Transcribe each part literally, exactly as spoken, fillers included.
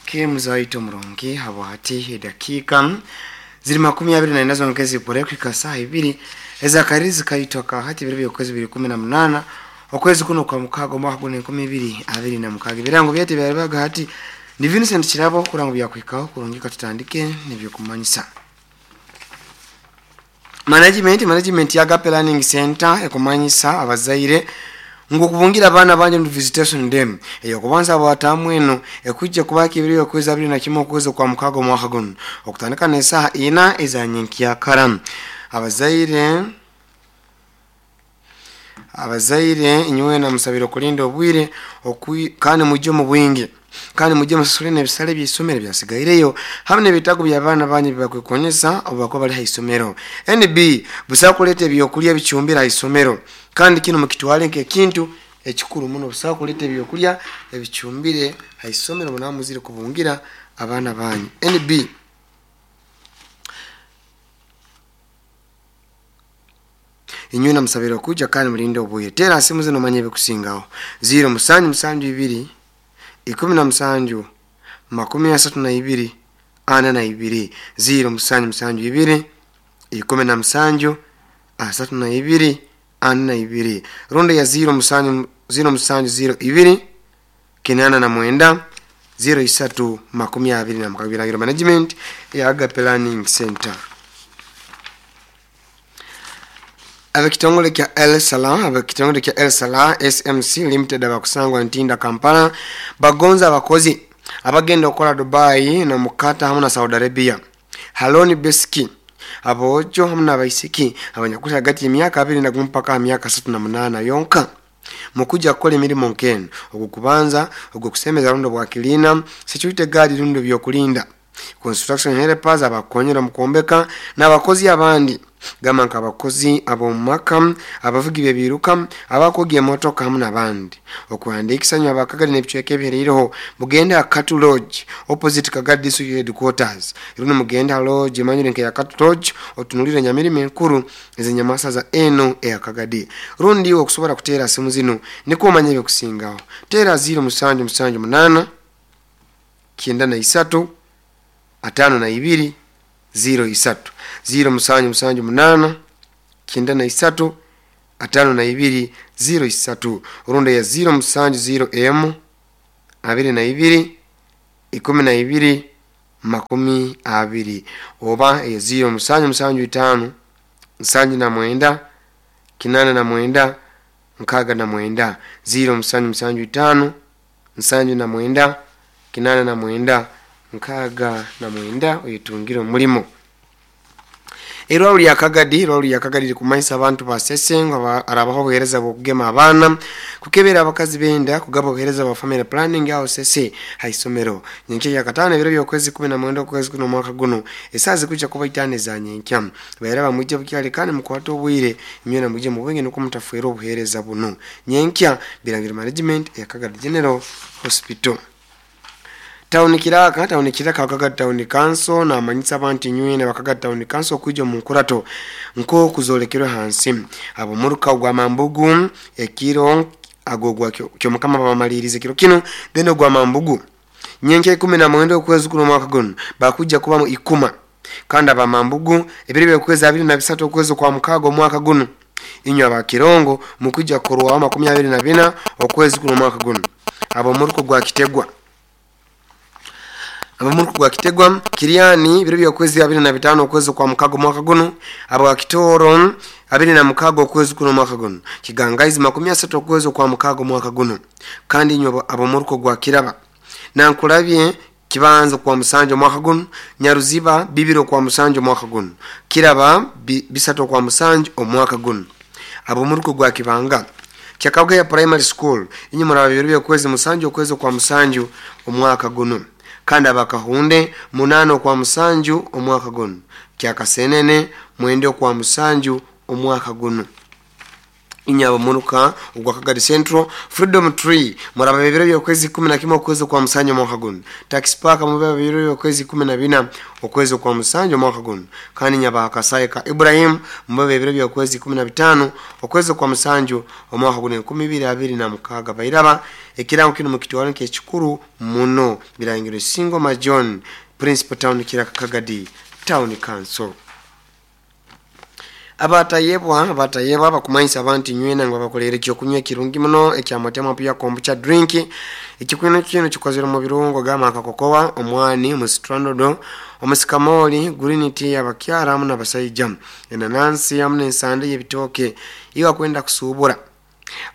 Kemzaito murungi habwati edakika ziri makumi abiri na ina zongezi kurekika saa ibiri ezakarizi kaitwa kahati biri byokwezi biri kumi na munana okwezi kuno kwa mukago mwaka guno enkumi ibiri abiri na mukago. Birango byete byalibaga hati ni Vincent Kirabo kurango byakwikaho kurungika tutandike nibyokumanyisa. Management management ya Agape Learning Center ekumanyisa abazaire ngo kubungira abana banje mu visitation dem eyo kubanza abatamu eno ekujja kubaki ibiri okwezi abiri na kimwe okwezi kwa mukago mwaka guno okutandika n'esaha ina ezanyenkiya karam. Abazaire abazaire inywe na musabiro kulinda obwire kandi mujye mu bwingi kandi mujye musasule n'ebisale by'isomero byasigaireyo hamwe n'ebitago by'abaana banyu bibakwekonyesa obu bali ha isomero. N B busa kuleta ebyokulya bicumbira ha isomero kandi kino mukitwale nk'ekintu ekikuru muno. Busa kuleta ebyokulya ebicumbire ha isomero munamuzire kubungira abaana banyu. N B inywe na musabiro kuja kandi mulinde obuye. Tera simu zino manye bikusingaho zero musanju musanju ibiri ikumi na musanju makumi asatu na ibiri ana na ibiri zero musanju musanju ibiri ikumi na musanju asatu na ibiri ana na ibiri ronda ya zero musanju zero musanju zero ibiri kinana na mwenda zero isatu makumi abiri na mukabiragiro. Management ya Agape Learning Center. Abekitongole kya El Salam, abekitongole kya El Salam S M C Limited abakusangwa Ntinda Kampala bagonza abakozi abagenda okola Dubai na mukata hamwe na Saudi Arabia. Haloni Beski abojo hamwe n'abaisiki abanyakuta hagati y'emyaka abiri na mpaka myaka asatu na munana yonka mukuja kukola emirimu nkeno ogukubanza ogukusemeza rundo bwa kilina security guard rundo byokulinda construction helpers abakonyera mukombeka n'abakozi abandi gama nkabakozi abomumaka abavugi bebiruka abakogi emotoka hamwe n'abandi. Okuhandikisa nywa abakagadi n'ebicweka ebihereireho mugende Akatu Lodge opposite Kagadi District Headquarters. Iruno mugende lodge emanyire nke ya Akatu Lodge otunulire nyamirimo enkuru ezenyamasa za eno eya Kagadi. Rundi okusobola kuteera simu zino niko omanye ebikusingaho. Teera zero musanju musanju munana kyenda na isatu atano na ibiri zero isatu zero musanju musanju munana kyenda na isatu atano na ibiri zero isatu urunda ya zero musanju zero m abiri na ibiri ikumi na ibiri makumi abiri oba ya zero musanju musanju itano nsanju na mwenda kinana na mwenda nkaga na mwenda zero musanju musanju itano nsanju na mwenda kinana na mwenda nkaga na mwenda oyetungire omulimo. Erwalo lya Kagadi, erwalo lya Kagadi likumanyisa abantu basese nga arabaho obuheereza bw'okugema abaana kukebera abakazi benda kugaba obuheereza bwa family planning aho sese ha isomero. Nyenkya ya katano ebiro by'okwezi kumi na mwenda okwezi kuno omwaka guno esaaha zikujja kuba itaano eza nyenkya. Baera bamwijje bukyali kandi mukwate obwire imwe na mujje mubwenge nuko mutafuera obuheereza buno. Nyenkya Birangiro Management ya Kagadi General Hospital. Town Kiraka, Town Kiraka Kagadi Town Council na amanyisa abantu nywe na Kagadi Town Council kujja mu nkurato nko kuzolekerwa hansi abo muruka gwa Mambugu ekiro agogwa kyo mukama bamalirize kiro kino then gwa Mambugu nyenke ikumi na mwenda okwezi kuno mwaka guno bakujja kuba mu ikuma kandi aba Mambugu ebiri byokwezi abiri na bisatu okwezi kwa mukago mwaka guno inywa abakirongo mukujja korwa makumi abiri na bina okwezi kuno mwaka guno abo muruko gwa Kitegwa abamuruko gwa Kitegwa Kiriani biro byokwezi abiri na bitano okwezi kwa mukago mwaka guno abo Kitoro abiri na mukago okwezi kuno mwaka guno Kigangaizi makumi asatu okwezi kwa mukago mwaka guno kandi inywa abamuruko gwa Kiraba Nankulabye Kibanza kwa musanjo mwaka guno Nyaruziba bibiro kwa musanjo mwaka guno Kiraba bi, bisato kwa musanjo omwaka guno abamuruko gwa Kibanga Kyakabwe ya primary school inyuma rabiro byokwezi musanjo okwezi kwa musanjo omwaka guno kandi abakahunde munano kwa musanju omwaka guno Kyakasenene mwende kwa musanju omwaka guno. Inyabo munuka ogwa Kagadi Central, Freedom Tree muraba bibiro by'okwezi kumi na kimwe okwezi kwa musanju omwaka guno. Tax Park mubeba bibiro by'okwezi kumi na bina okwezi kwa musanju omwaka guno. Kandi nyaba Akasaye ka Ibrahim mubeba bibiro by'okwezi kumi na bitano okwezi kwa musanju omwaka guno enkumi ibiri abiri na mukaaga. Bairaba ekirango kino mukitwala nk'ekikuru muno. Birangiro Singoma John, Principal Town Kiraka, Kagadi Town Council. Abatayebwa abatayebwa bakumanyisa abantu nywena ngo bakolere ekyokunywa ekirungi muno ekyamotema pia kombucha drink. Ekikunywa kino kikozere mu birungo gama akakokowa, omwani, omusitrandodo, omusikamoli, green tea abakyara hamu n'abasaija, enanansi hamu n'ensande y'ebitooke. Iwa kwenda kusuubura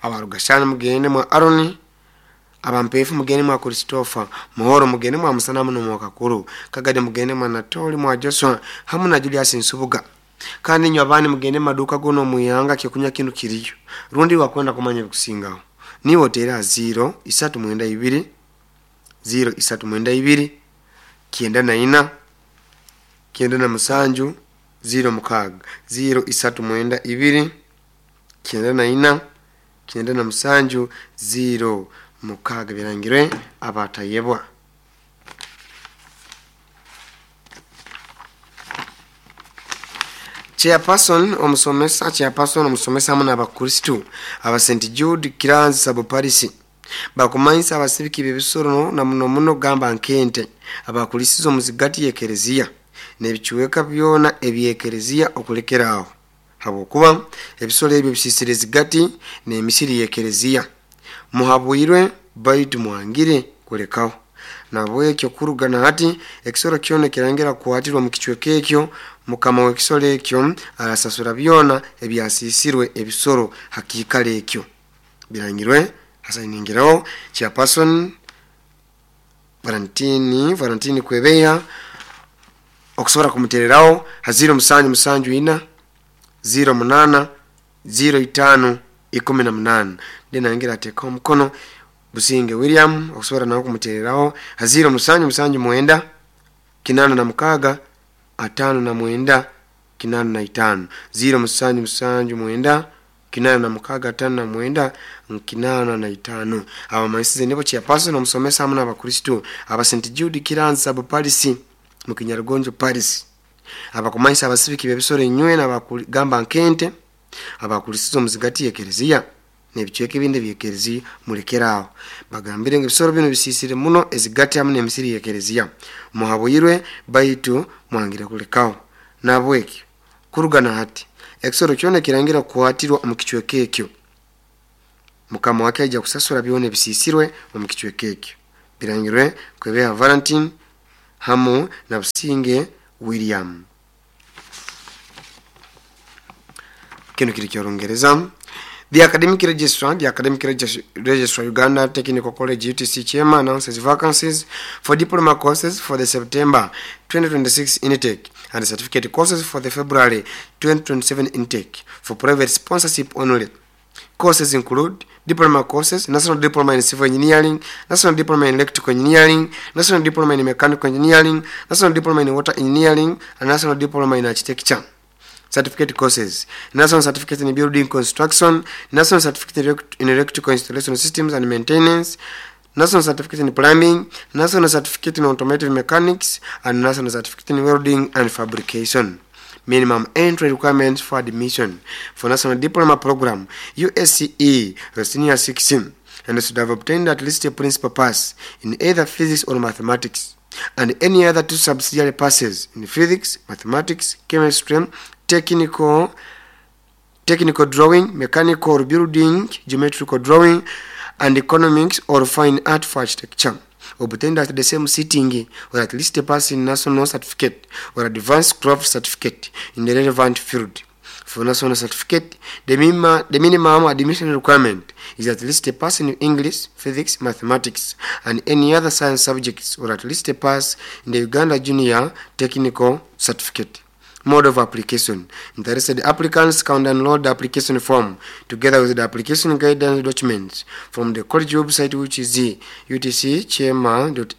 abarugashana mugende mwa Aroni, abampefu mugende mwa Christopher Muhoro, mugende mwa Musana muno mwa Kakuru Kagadi, mugende mwa Natoli mwa Joshua hamu na Julius Nsubuga. Kandi nywa abandi mugende maduka gono muyanga kyokunywa kinu kiriyo rundi wakwenda kumanya bikusingaho niwo tera zero isatu mwenda ibiri zero isatu mwenda ibiri kienda na ina kienda na musanju zero mukaga zero isatu mwenda ibiri kienda na ina kienda na musanju zero mukaga. Birangirwe abatayebwa. Chairperson omusomesa chairperson omusomesa hamu n'abakristu aba Saint Jude Kiranzi Sub Paris bakumanyisa abasibiki b'ebisoro na muno muno gamba nkente abakulisiza omuzigati y'ekereziya n'ebicuweka byona eby'ekereziya okulekeraawo, habwokuba ebisoro ebyo bisisire ezigati n'emisiri y'ekereziya. Muhabwirwe baitu mwangire kulekaho. Nabwekyo kuruga na hati ekisoro kyona kirangira kuhatirwa mu kicweka ekyo, mukama w'ekisoro ekyo arasasura byona ebyasisirwe ebisoro hakiikaro ekyo. Birangirwe hasainingiraho chairperson Valentini Valentini Kwebeya. Okusobora kumutereraho ha zero musanju musanju ina zero munana zero itano ikumi na munana. Ndinangira ateekaho omukono Businge William. Okusobora nawe kumutereraho ha zero musanju musanju mwenda kinana na mukaga atano na mwenda kinana na itano zero musanju musanju mwenda kinana na mukaga atano na mwenda kinana na itano. Abamanyisize nibo chairperson omusomesa hamu n'abakristu aba Saint Jude Kiranzi Sub Paris mu Kinyarugonjo Paris abakumanyisa abasibiki b'ebisoro enywe n'abakugamba nkente abakulisiza omuzigati y'ekereziya n'ebicweka ebindi by'ekereziya mulekeraawo. Bagambire ngu ebisoro bino bisisire muno ezigati hamu n'emisiri y'ekereziya. Muhabwirwe baitu mwangire kulekaho. Nabwekyo kuruga na hati ekisoro kyona kirangira kuhatirwa omu kicweka ekyo, mukama wake aija kusasura byona ebisisirwe omu kicweka ekyo. Birangirwe Kwebeha Valentine hamu na Businge William. Kino kiri ky'Orungereza. The Academic Registrar, the Academic Registrar Uganda Technical College U T C Chairman announces vacancies for diploma courses for the September twenty twenty-six intake and certificate courses for the February twenty twenty-seven intake for private sponsorship only. Courses include diploma courses, National Diploma in Civil Engineering, National Diploma in Electrical Engineering, National Diploma in Mechanical Engineering, National Diploma in Water Engineering, and National Diploma in Architecture. Certificate courses, National Certificate in Building Construction, National Certificate in Electrical Installation Systems and Maintenance, National Certificate in Plumbing, National Certificate in Automotive Mechanics, and National Certificate in Welding and Fabrication. Minimum entry requirements for admission for National Diploma Program, U S C E, Senior six, and should have obtained at least a principal pass in either physics or mathematics, and any other two subsidiary passes in physics, mathematics, chemistry, technical, technical drawing, mechanical building, geometrical drawing, and economics or fine art for architecture, obtained at the same sitting, or at least a pass in national certificate or advanced craft certificate in the relevant field. For national certificate, the minimum, the minimum admission requirement is at least a pass in English, physics, mathematics, and any other science subjects, or at least a pass in the Uganda Junior Technical Certificate. Mode of application. Interested applicants can download the application form together with the application guidance documents from the college website, which is U T C chema dot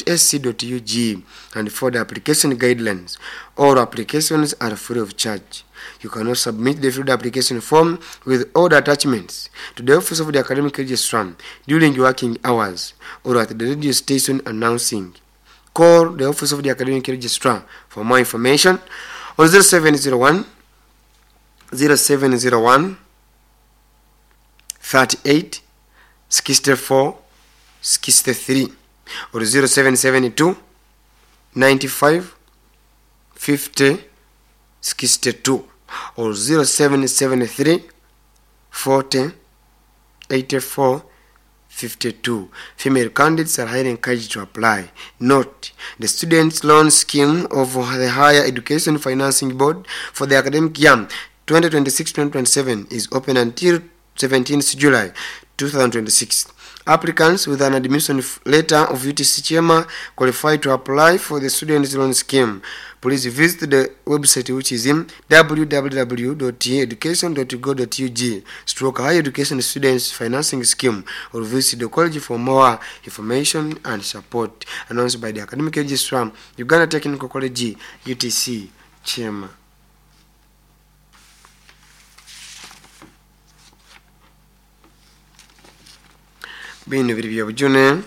A C dot U G, and for the application guidelines. All applications are free of charge. You can also submit the filled application form with all the attachments to the office of the academic registrar during working hours or at the radio station announcing. Call the office of the academic registrar for more information on zero seven zero one zero seven zero one thirty-eight sixty-four sixty-three or zero seven seven two ninety-five fifty sixty-two or zero seven seven three forty eighty-four fifty-two. Female candidates are highly encouraged to apply. Note, the student loan scheme of the Higher Education Financing Board for the academic year twenty twenty-six twenty twenty-seven is open until seventeenth July two thousand twenty-six. Applicants with an admission letter of U T C Chema qualify to apply for the student loan scheme. Please visit the website, which is in w w w dot education dot go dot u g stroke higher education students financing scheme, or visit the college for more information and support. Announced by the Academic Registrar, Uganda Technical College, U T C Chema. Bino biri bya bujune.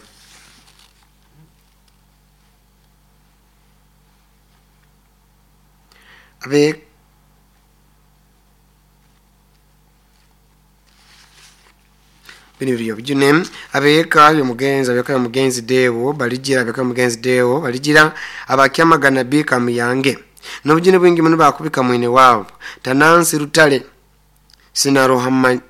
Abe bino biri bya bujune abeka yomugenzi abeka yomugenzi dewo balijira abeka yomugenzi dewo balijira abakyamagana bika muyange n'obujune bwingi muno bakubika mwine wabo Tanansi Rutale sinaruhama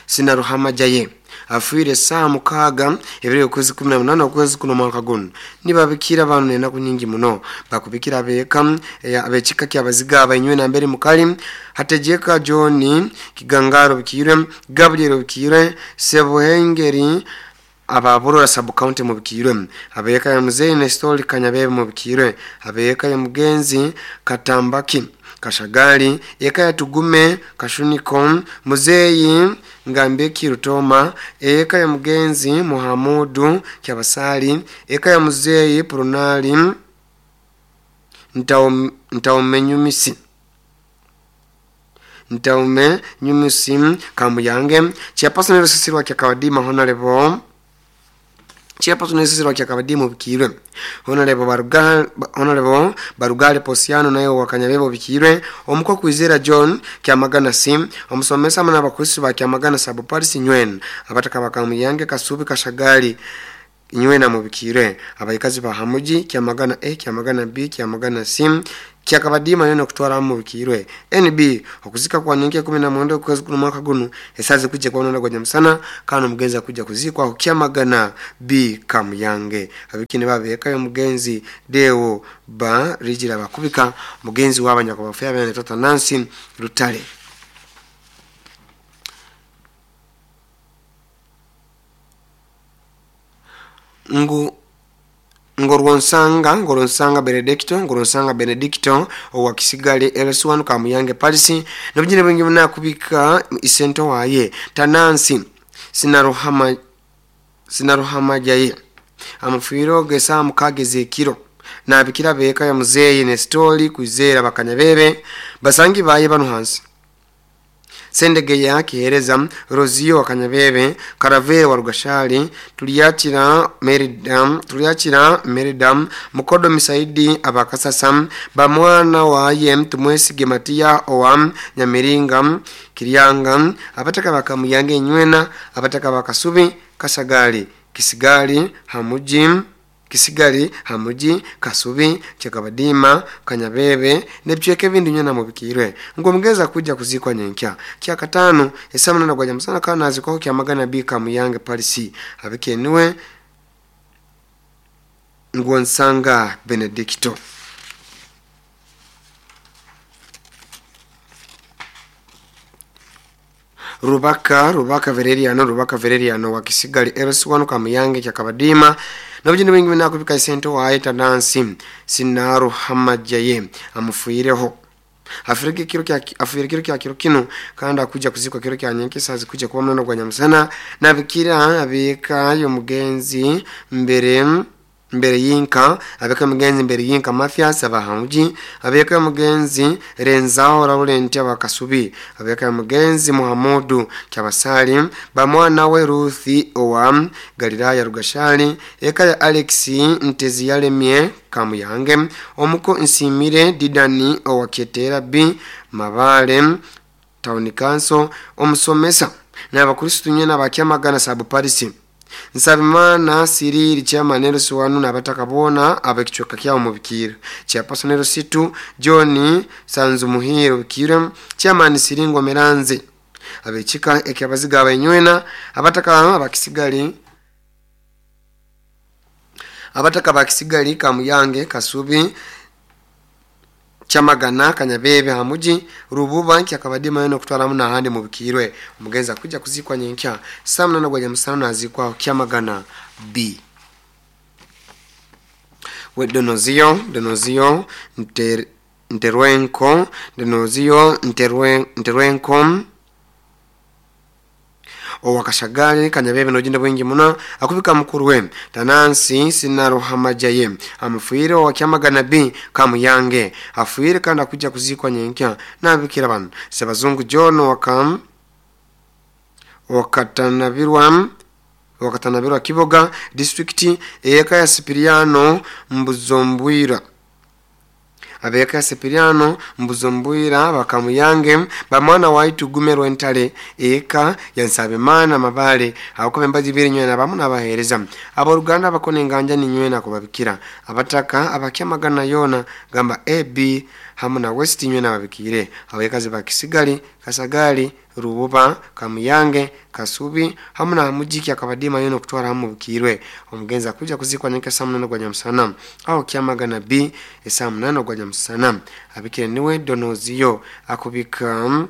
sinaruhama jaye afuire saa mukaga ebiri okwezi kumi na munana okwezi kuno mwaka guno nibabikira abantu enaku nyingi muno bakubikira abeka abekika kyabaziga abainywe na mbere mukali hatejeka John Kigangaro bikirwe Gabriel bikirwe Sebuhengeri ababurora sub county mu bikirwe abeka ya muzeyi Nestor Kanyabebe mu bikirwe abeka ya mugenzi Katambaki Kashagali eka ya Tugume Kashuniko muzeyi Ngambeki Rutoma eka ya mugenzi Muhamudu Kyabasali eka ya muzeyi Prunali Ntaumenyumisi Ntaume Nyumisi Kamuyange Chairperson Rusisirwa Kyakawadima Honorable Chairperson Rusisirwa Kyakabadimu bikirwe Honorable Barugale Honorable Barugale Posiano nayo wakanyabebo bikirwe omuko kwizera John Kyamagana Sim omusomesa mana abakusi ba Kyamagana Sub Paris Nywen abataka bakamuyange Kasubi Kashagali Nywena mu bikirwe abayikazi ba Hamuji Kyamagana A Kyamagana B Kyamagana C Kyakabadima yono kutwara mu bikirwe N B okuzika kwa nyingi kumi na mwenda kwezi kuno mwaka guno esaze kujja kwa nona gwa msana kano mugenzi akujja kuzikwa Kyamagana B Kamuyange abikine babeka yo mugenzi Deo ba rijira bakubika mugenzi w'abanyakabafya bene Tata Nancy Rutale. Ngu Ngorwonsanga Ngorwonsanga Benedicto Ngorwonsanga Benedicto owa Kisigale L S one Kamuyange Palisi nobujine bwingi munakubika isento waye Tanansi sinaruhama sinaruhama jaye amufiro gesa mukageze kiro nabikira beka ya muzeyi Nestori kwizera bakanyabebe basangi baye bano hansi Sendegeya Kihereza Rozio wakanyabebe Karavere wa Rugashali Tuliachira Meridam Tuliachira Meridam Mukodo Misaidi abakasasam bamwana waye Tumwesige Matia owa Nyamiringa Kiryanga abataka bakamuyange Nywena abataka bakasubi Kasagali Kisigali Hamuji Kisigali Hamuji Kasubi Kyakabadima Kanyabebe nebyeke bindi nyana mubikirwe ngo mugeza kujja kuzikwa nyenkya kyakatano esamana na gwaja musana kana azikwa Kyamagana B Kamuyange Palisi abikenuwe Ngwonsanga Benedicto. Rubaka Rubaka Vereriano Rubaka Vereriano wa Kisigali L S one Kamuyange Kyakabadima Nobujini bwingi binakubika isento waye Tanansi Sinaru Hamajaye amufuireho afirike kiro kya afirike kiro kya kiro kino kandi akuja kuzikwa kiro kya nyenkesa zikuja kuba mnono gwa nyamusana nabikira abeka yo mugenzi mbere mbere yinka abeka mugenzi mbere yinka Mathias abahamuji abeka mugenzi Renzao Laurent abakasubi abeka mugenzi Muhammadu Kyabasali bamwana we Ruthi owa Galilaya Rugashali eka ya Alex Ntezi yalemye Kamuyange omuko Nsimire Didani owa Ketera B Mabale Town Council omusomesa n'abakristo nyena bakyamagana sabu Paris Nsabimana Siriri chairman Suwanu n'abataka bona abekichweka kyawo mu bikira chairperson Situ John Sanzumuhiro bikira chairman Siringo Meranze abechika ekyabaziga abenywena abataka abakisigali abataka bakisigari Kamuyange Kasubi Chamagana Kanyabebe hamuji Rububa kyakabadima yono kutwala muna hande mu bikirwe omugenza kuja kuzikwa nyenkya saa munana gwa nyamusana nazikwa Kyamagana B we Donozio Donozio nter, Nterwenko Donozio Nterwen, Nterwenko owakashagali Kanyabebe nojinda bwingi muno akubika mukuru we Tanansi Sinaruhamajaye amufuire wa Kyamagana B Kamuyange afuire kandi akuja kuzikwa nyenkya nabikira bano Sebazungu John wakam wakatanabirwa wakatanabirwa Kiboga district eka ya Sipiriano Mbuzombwira abeka Sipiriano Mbuzombwira bakamuyange bamwana waitu gumero entale eka yansabimana Mabale abakobe mbazi biri nywena bamu nabahereza aboluganda bakone nganja ni nywena kubabikira abataka abakyamagana yona gamba A B hamu na West nywena babikire abekazi bakisigali Kasagali Rububa Kamuyange Kasubi hamu na mujiki akabadima yono kutwara hamu bukirwe omugenza kuja kuzikwa nyeka saa munana gwa nyamusana aho Kyamagana B saa munana gwa nyamusana abikire niwe Donozio akubika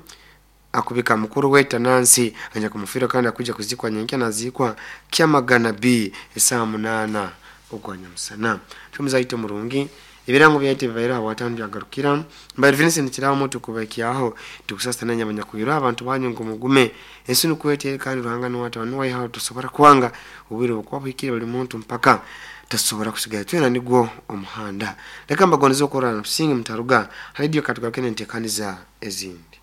akubika mukuru we Tanansi anja kumufira kandi akuja kuzikwa nyenka nazikwa Kyamagana B saa munana ogwa nyamusana tumuzaito murungi ibirango byaite bibaira watano byagarukira mbari Vincent Kiramo tukubakiyaho tukusasa nanya abanyakuyira abantu banyu ngo mugume ensi nukwete kandi ruhanga ni watano wayihaho tusobora kwanga ubwire bukwabikira buli muntu mpaka tasobora kusigala twena nigwo omuhanda leka mbagonizo korana singi mtaruga radio katugarukene ntekaniza ezindi.